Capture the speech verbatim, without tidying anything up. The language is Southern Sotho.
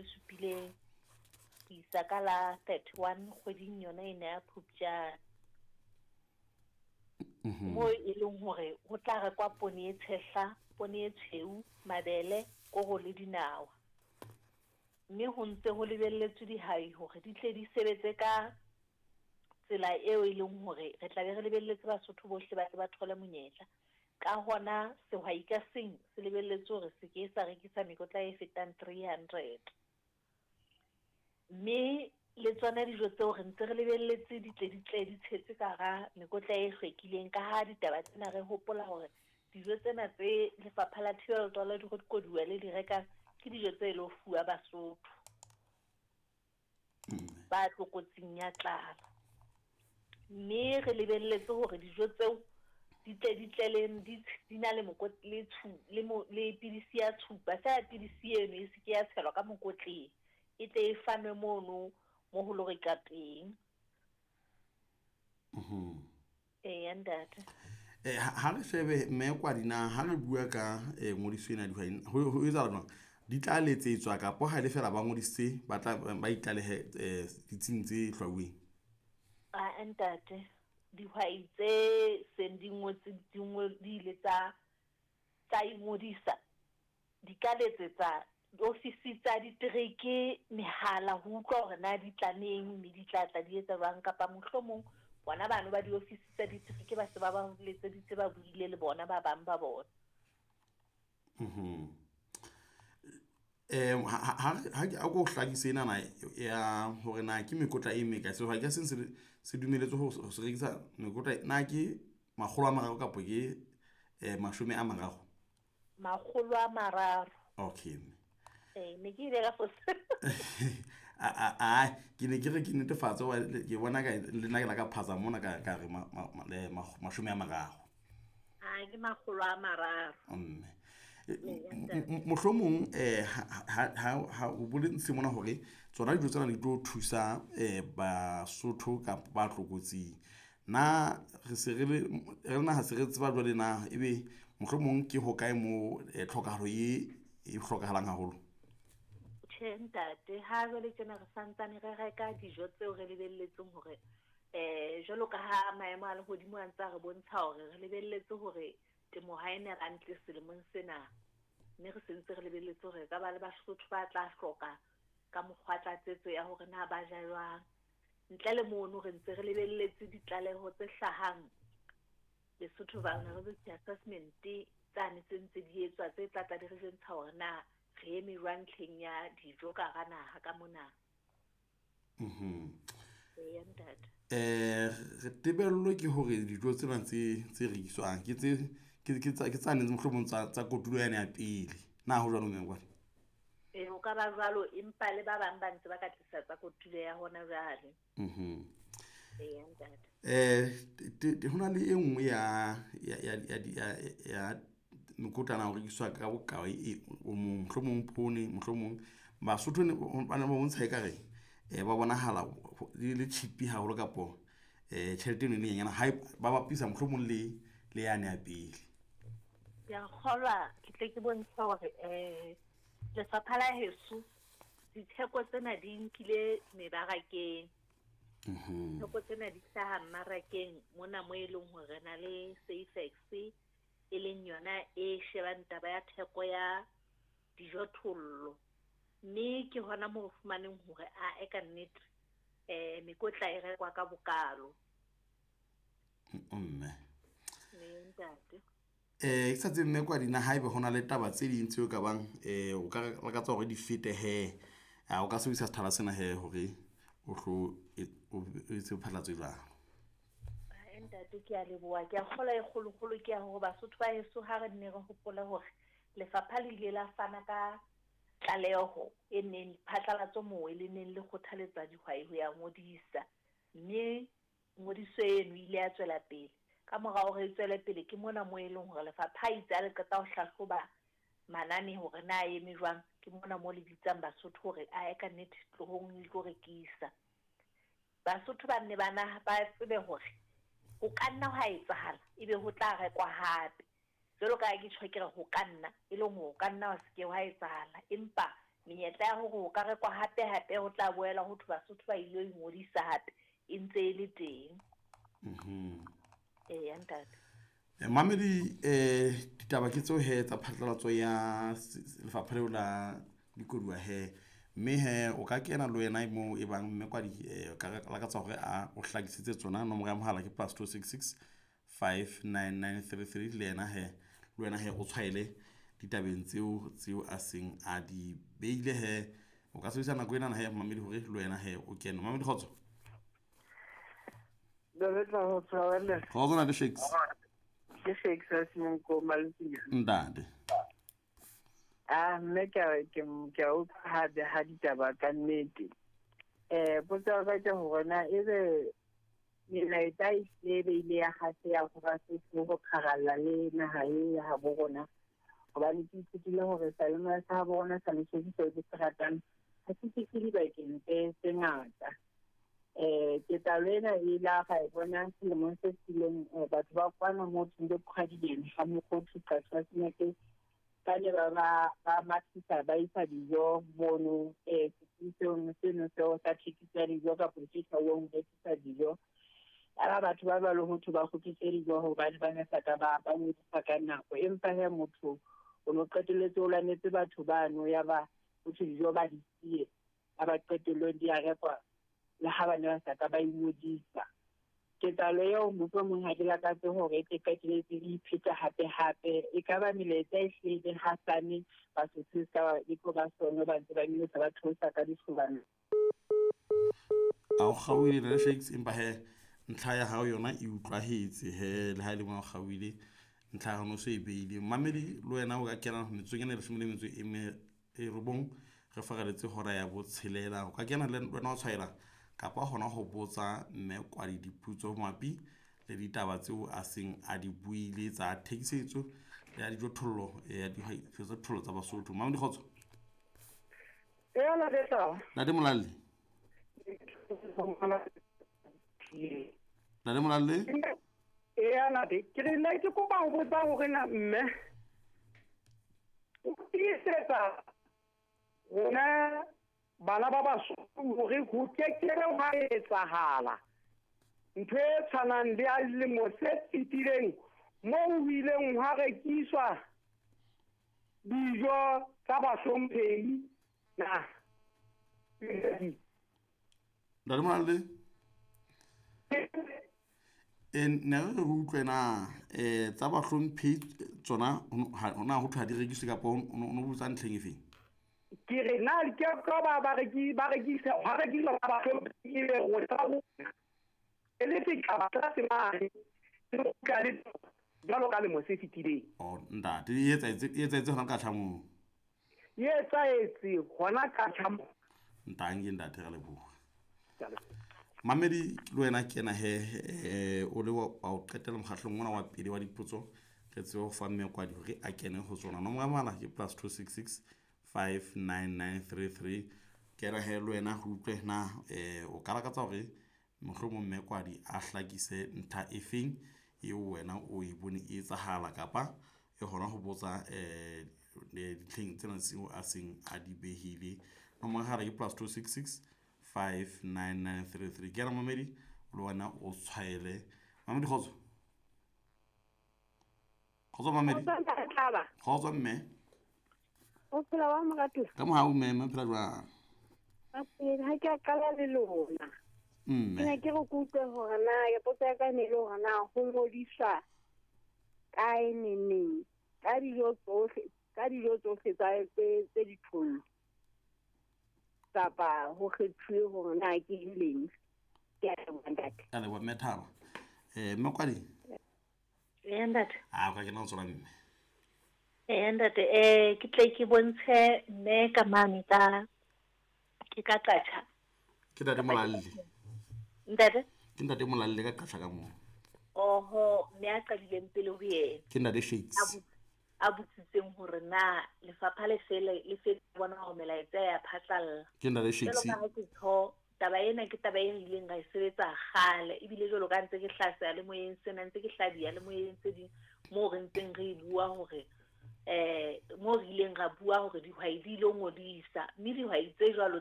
tse supileng ho isa ka la thirty-one kgweding yona ena ya Phupjane. Moo e leng hore ho tla rekwa poone e tshehla, poone e tshweu, mabele, koro le dinawa. Mme ho ntse ho lebelletswe dihwai hore di tle di sebetse ka tsela eo e leng hore re tla be re lebelletse Basotho bohle ba tle ba thole monyetla. Ka hona sehwai ka seng se lebelletse hore se ke sa rekisa mekotla e fetang three hundred. Mme le tsona dijo tseo re ntse re lebelletse di tle di tle di tshetswe ka hara mekotla e hlwekileng, ka ha ditaba tsena re hopola hore dijo tsena tse Lefapha la Thibelo Taolo ya Dikoduwa le di rekang ke dijo tse lo fuwa Basotho ba tlokotsing ya tlala. Mme re lebelletse hore dijo tseo di tle di tle le di di na le mokot le tshu le mo le pidisi ya tshupa. Feela pidisi eno e se ke ya tshelwa ka mokotleng, e tle e fanwe mono mo ho lo reka teng. Eya ntate. Eh, ha re shebe mme Kwadi na ha re bua ka eh, ngodiso ena ya dihwai ho ho etsahala jwang? Di tla letsetswa kapa ha e le feela ba ngodisitse ba tla ba itlalehe eh, ditsing tse hlwauweng? Ah, ntate, dihwai tse seng di ngotse di ngo di ile tsa tsa ingodisa di ka letsetsa diofisi tsa ditereke mehala ho utlwa hore na di tla neng mme di tla tla di etsa jwang, kapa mohlomong bona bano ba diofisi tsa ditereke ba se ba ba letseditse ba buile le bona ba bang ba bona. Eh, ha ha ha ha ko hlakise enana ya hore na ke mekotla e mekae. Sehwai ka seng se se dumelletswe ho se rekisa mekotla na ke makgolo a mararo kapa ke eh, mashome a mararo? Makgolo a mararo. Okay. Eh, ne ke ile ka fosa. A a a ke ne ke re ke netefatse hoba ke bona ka le nna ke la ka phatsa mona ka ka re ma, ma, ma, le mashome a mararo. Ah, ke makgolo a mararo. Mme mohlomong eh ha ha ha o bolentse mona hore tsona dijo tsena di tlo thusa eh Basotho kapa ba tlokotsing. Na re se re le re naha se re tseba jwale na ebe mohlomong ke hokae mo eh, tlhokahalo e e hlokahalang haholo? Tjhe ntate, ha jwale tjena re santsane re reka dijo tseo re lebelletseng hore eh jwalo ka ha maemo a lehodimo a ntse a re bontsha hore re lebelletse hore temo ha e ne hantle selemong sena, mme re sentse re lebelletse hore ka ba le Basotho ba tla hloka ka mokgwa tlatsetso ya hore na ba ja jwang. Ntle le mono re ntse re lebelletse ditlaleho tse hlahang Lesotho Vulnerability Assessment tsane tse ntse di etswa tse tla tla di re jwentsha hore na re eme jwang ntlheng ya dijo ka hara naha ka mona. Mhm. Eya ntate. Eh, re tebello ke hore dijo tsena tse tse rekiswang ke tse ke ke tsa ke tsane mohlomong tsa tsa kotulo yane ya pele. Na ho jwalo mme Kwadi? Eh, ho ka ba jwalo, empa le ba bang ba ntse ba ka tlisa tsa kotulo ya hona jwale. Mhm. Eya ntate. Eh, te- ho na le e nngwe ya ya ya ya ya ya mekotlana ho rekiswa ka bokae e o mong, mohlomong poone, mohlomong Basotho ne ba ne ba bontsha ekare eh ba bonahala le le cheap haholo kapo eh tjhelete eno e le nyenyane ha ba bapisa mohlomong le le yane ya pele. Ke a kgolwa ke tle ke bontshe hore eh lefapha la heso ditheko tsena di nkile mebarakeng. Mhm. Theko tsena di hlaha mmarakeng mona mo e leng hore re na le Safex e leng yona e shebang taba ya theko ya dijothollo. Mme ke hona moo re fumaneng hore a e ka nnete eh mekotla e rekwa ka bokalo. Mme. Mme ntate. Eh, ke sa tsebe mme Kwadi na haebe ho na le taba tse ding tseo ka bang eh o ka lakatsa hore di fete he, a o ka sebedisa sethala sena he hore o tlo o etse phatlalatso e jwalo. Ae ntate, ke a leboha. Ke a kgolwa e kgolokgolo ke ya hore Basotho ba heso ha re nne re hopole hore lefapha le ile la fana ka tlaleho e neng phatlalatso moo e le neng le kgothaletsa dihwai ho ya ngodisa. Mme ngodiso eno ile ya tswela pele. Ka mora hore e tswele pele ke mona moo e leng hore lefapha ha itse ha le qeta ho hlahloba manane hore na eme jwang, ke mona moo le bitsang Basotho hore ae ka nnete tlohong le tlo rekisa. Basotho ba nne ba na ba tsebe hore ho ka nna hwa etsahala ebe ho tla rekwa hape. Jwalo ka ha ke tjho ke re ho ka nna, e leng hore ho ka nna wa se ke hwa etsahala, empa Menyetla ya hore ho ka rekwa hape hape ho tla boela ho thwe Basotho ba ile ho ingodisa hape e ntse e le teng. Mhm. Eya ntate. Eh, mamedi eh ditaba ke tseo he tsa phatlalatso ya lefapha leo la dikoduwa he mme he o ka kena le wena moo e bang mme kwadi eh, ka lakatsa hore a o hlakisetse tsona. Nomoro ya mohala ke plus two six six five nine nine three three. Le yena he le wena he o tshwaele ditabeng tseo tseo a seng a di beile he. O ka sebedisa nako ena he mamedi hore le wena he o kene. Mamedi kgotso. Kgotso na le Shakes. Ke Shakes a seneng ko Maletsing. Ntate. Ah, mme ke a ke ke a utlwa ha ha ditaba ka nnete. Eh, potso ya ka ke hore na ebe melaetsa e hlile e ile ya kgaseya ho Basotho ho pharalla le naha e ya habo rona. Hobane ke ithutile hore seyalemoya sa habo rona sa Lesotho seo ke se ratang ha se fihle dibakeng tse tse ngata. Eh, ketsahalo ena e ile ra e bona selemong se fetileng, batho ba kwana moo thweng ke Qhwadileng ha Mokgothu Qatshwa Senate ba ne ba ba ba mathisa ba isa dijo mono eh setsing seno seo sa thekiso ya dijo kapa se tlwaelong ho rekisa dijo. Yaba batho ba jwalo ho thwe ba kgutlise dijo hobane ba ne sa ka ba ba ngodisa ka nako. Empa he motho o no qetelletse o lwanetse batho bano yaba ho thwe dijo ba di siye, ba ba qetellong di a rekwa le ha ba ne ba sa ka ba ingodisa. Ketsahalo eo mohlomong ha ke lakatse hore e tle qetelletse e ipheta hape hape. E ka ba melaetsa e hlile hasane Basotho se ka e tlo ba sono ba ntse ba nyolosa ba theosa ka dihlobana. A o kgaohile le Shakes, empa he ntlha ya hao yona e utlwahetse he, le ha e le mona o kgaohile ntlha ya hao no se e beile. Mamedi le wena o ka kena metsotsong ena e leshome le metso e me e robong re fareletse hora ya botshelela. O ka kena le wena wa tshwaela kapa hona ho botsa mme kwadi diputso mabapi le ditaba tseo a seng a di buile tsa thekisetso ya dijothollo ya dijothollo tsa Basotho. Mamedi kgotso. Eya, Ntate. Ntate Molalle. Ntate Molalle. Eya, ntate. Ke re nna ke kopa ho botsa hore na mme o tiisetsa rona bana ba Basotho hore ho kekebe hwa etsahala ntho e tshwanang le ya dilemo se fetileng moo ho ileng hwa rekiswa dijo tsa bahlomphehi na. Ntate Molalle. E ne re re utlwe na eh tsa bahlomphehi tsona hona ho thwe ha di rekiswe kapa o no botsa ntlheng efeng? Ke re na ke ka ba ba reki ba rekisa ha rekisa ba bahlomphehi e be rona e le setjhaba tlase mane re kgutla le jwalo ka lemo se fetileng. Oh ntate, e etsahetse e etsahetse hona ka tlhamong. E etsahetse hona ka tlhamong. Ntange ntate, re leboha. Mamedi le wena kena he eh o le wa o qetela mokgahlong ona wa pele wa dipotso re tsebe ho fa mme kwadi hore a kene ho tsona. Nomoro ya mohala ke plus two six six five nine nine three three. Kena he le wena ho utlwe na eh o ka lakatsa hore mohlomong mme kwadi a hlakise ntlha efeng eo wena o e bone e etsahala kapa e hona ho botsa eh ditlheng tsena tseo a seng a di behile. Nomoro ya mohala ke plus two six six five nine nine three three. Kena mamedi le wena o tshwaele. Mamedi kgotso. Kgotso mamedi. Kgotso mme. O phela wa moratuwa? Ka mohau mme, mme phela jwang? A phela, ha ke a qala le lona. Mme. Ke ne ke re ke utlwe hore na ya potso ya ka e ne le hore na ho ngodiswa kae neneng ka dijo tsohle, ka dijo tsohle tsa tse tse dithollo kapa ho kgethuwe hore na ke eng leng. Ke a leboha ntate. Ka leboha mme Thabo. Eh mme Kwadi? Eya ntate. Ah, o ka kena ho tsona mme. Eya ntate, eh ke tle ke bontshe mme ka mane ka ke ka qatjha. Ke ntate Molalle. Ntate? Ke ntate Molalle ka qatjha ka moo. Oho, mme a qadileng pele ho yena. Ke ntate Shakes. A botsitseng hore na lefapha le fele le fele bona hore melaetsa ya phatlalla. Ke ntate Shakes. Jwalo ka ha ke tjho, taba ena ke taba e re ileng ra e sebetsa kgale ebile jwalo ka ntse ke hlasa le moyeng sena ntse ke hlabiya le moyeng tse ding moo re ntseng re e bua hore Eh moo re ileng ra bua hore dihwai di ilo ngodisa, mme dihwai tse jwalo